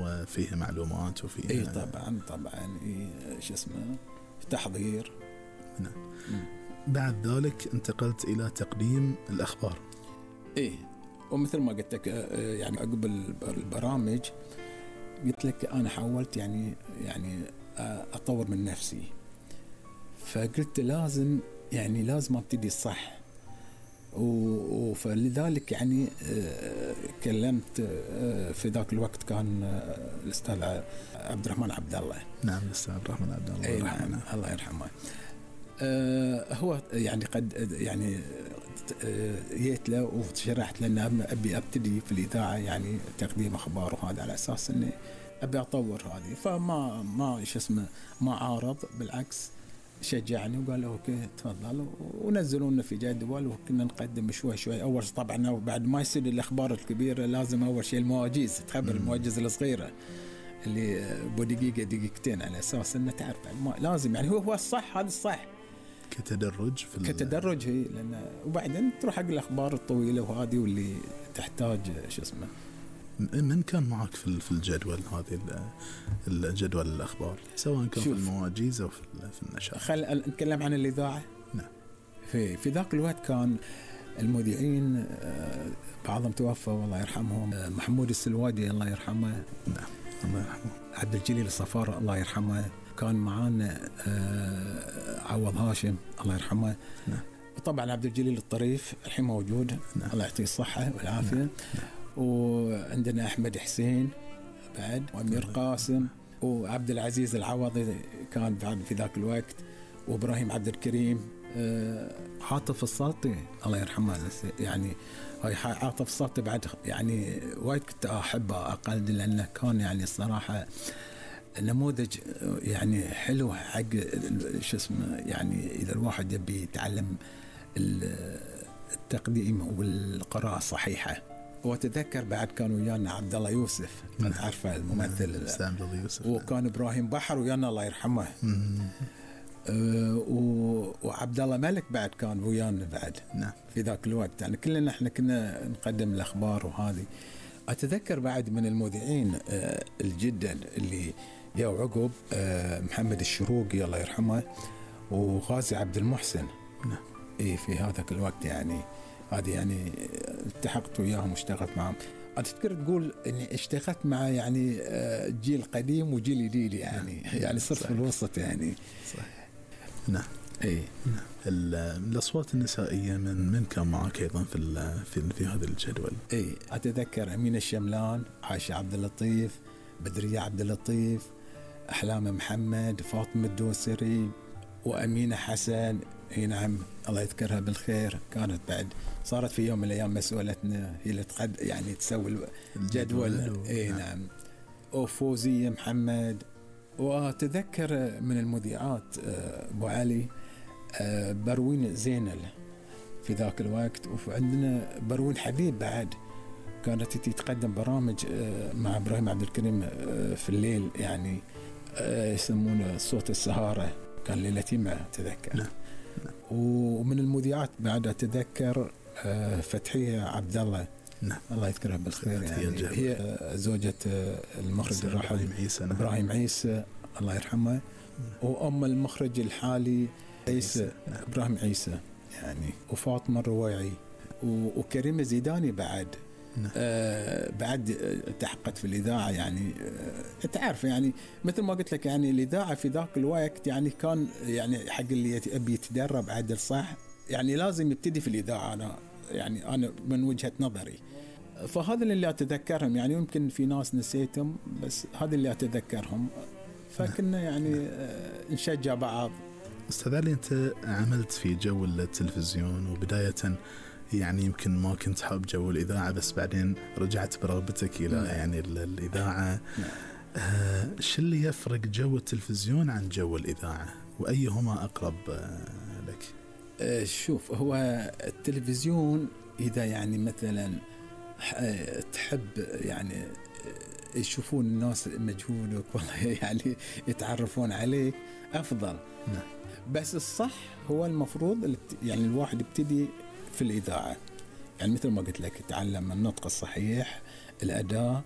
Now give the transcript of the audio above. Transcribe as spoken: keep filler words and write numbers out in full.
وفيه معلومات وفيه اي طبعا طبعا إيه شو اسمه تحضير. نعم. بعد ذلك انتقلت إلى تقديم الأخبار. ايه ومثل ما قلت لك يعني عقب البرامج قلت لك أنا حاولت يعني يعني أطور من نفسي، فقلت لازم يعني لازم أبتدي صح، فلذلك يعني كلمت في ذاك الوقت كان الأستاذ عبد الرحمن عبد الله. نعم الأستاذ عبد الرحمن عبد الله. أي نعم الله يرحمه. أه هو يعني قد يعني جيت له وشرحت له أن أبي أبتدي في الإذاعة يعني تقديم أخبار وهذا على أساس إني أبي أطور هذه، فما ما إيش اسمه ما عارض، بالعكس شجعني وقال له اوكي تفضل، ونزلونا في جدول وكنا نقدم شوي شوي. اول طبعا بعد ما يصير الاخبار الكبيره لازم اول شيء المواجيز، تخبر المواجيز الصغيره اللي بدقيقه دقيقتين على اساس انه تعرف لازم يعني هو هو الصح، هذا الصح كتدرج في كتدرج هي لان، وبعدين تروح حق الاخبار الطويله وهذه واللي تحتاج شو اسمه. من كان معك في في الجدول هذه الجدول الأخبار سواء كان في المواجيز أو في النشاط؟ خل نتكلم عن الإذاعة. نعم. في في ذاك الوقت كان المذيعين بعضهم توفى والله يرحمهم، محمود السلوادي الله يرحمه. نعم الله يرحمه. عبد الجليل الصفار الله يرحمه. كان معانا عوض هاشم الله يرحمه. نعم. وطبعا عبد الجليل الطريف الحين موجود. نعم. الله يعطيه الصحة والعافية. نعم. وعندنا أحمد حسين بعد، وأمير قاسم، وعبد العزيز العوضي كان بعد في ذاك الوقت، وإبراهيم عبد الكريم، عاطف السلطي الله يرحمه. يعني هاي عاطف السلطي بعد يعني وايد كنت أحبه أقلد، لأنه كان يعني الصراحة نموذج يعني حلو حق شو اسمه، يعني إذا الواحد يبي يتعلم التقديم والقراءة الصحيحة. وتذكر بعد كانوا ويانا عبد الله يوسف، ما تعرفه الممثل، يوسف. وكان إبراهيم بحر ويانا الله يرحمه. أه وعبد الله ملك بعد كان ويانا بعد. نعم. في ذاك الوقت يعني كلنا احنا كنا نقدم الأخبار وهذه. أتذكر بعد من المذيعين أه الجدا اللي جاء عقب أه محمد الشروقي الله يرحمه، وغازي عبد المحسن. نعم. إيه في هذاك الوقت يعني هذه يعني التحقت وياهم واشتغلت معهم. أتذكر تقول إني اشتغلت مع يعني جيل قديم وجيل جديد يعني. نعم. يعني صرت في الوسط يعني. صحيح. نعم. إيه. نعم. الأصوات النسائية من من كان معك أيضا في في في هذا الجدول؟ إيه أتذكر أمينة الشملان، عائشة عبد اللطيف، بدرية عبد اللطيف، أحلام محمد، فاطمة الدوسري، وأمينة حسن. اي نعم الله يذكرها بالخير، كانت بعد صارت في يوم من الايام مسؤولتنا، هي اللي تقد يعني تسوي الجدول. اي نعم. وفوزية محمد. واتذكر من المذيعات ابو علي بروين زينل في ذاك الوقت، وعندنا بروين حبيب بعد كانت تتقدم برامج مع ابراهيم عبد الكريم في الليل يعني يسمونه صوت السهارة، كان ليلتي ما اتذكر. نعم. ومن المذيعات بعد أتذكر فتحية عبد الله. نعم. الله يذكرها بالخير يعني، هي زوجة المخرج الراحل إبراهيم عيسى. نعم. إبراهيم عيسى الله يرحمه. نعم. وأم المخرج الحالي عيسى. نعم. إبراهيم عيسى يعني، وفاطمة الرويعي وكريمة زيداني بعد. نعم. آه بعد تحققت في الإذاعة يعني. آه تعرف يعني مثل ما قلت لك يعني الإذاعة في ذاك الوقت يعني كان يعني حق اللي يبي يتدرب عدل صح يعني لازم يبتدي في الإذاعة. أنا يعني أنا من وجهة نظري، فهذا اللي أتذكرهم يعني. يمكن في ناس نسيتهم بس هذا اللي أتذكرهم. فكنا يعني آه نشجع بعض. أستاذ علي، أنت عملت في جو التلفزيون وبداية يعني يمكن ما كنت حاب جو الإذاعة، بس بعدين رجعت برغبتك إلى يعني الإذاعة. آه شو اللي يفرق جو التلفزيون عن جو الإذاعة، وأيهما أقرب آه لك؟ آه شوف، هو التلفزيون إذا يعني مثلا تحب يعني يشوفون الناس مجهودك والله يعني يتعرفون عليك أفضل. نعم. بس الصح هو المفروض يعني الواحد يبتدي في الإذاعة يعني مثل ما قلت لك، يتعلم النطق الصحيح، الأداء،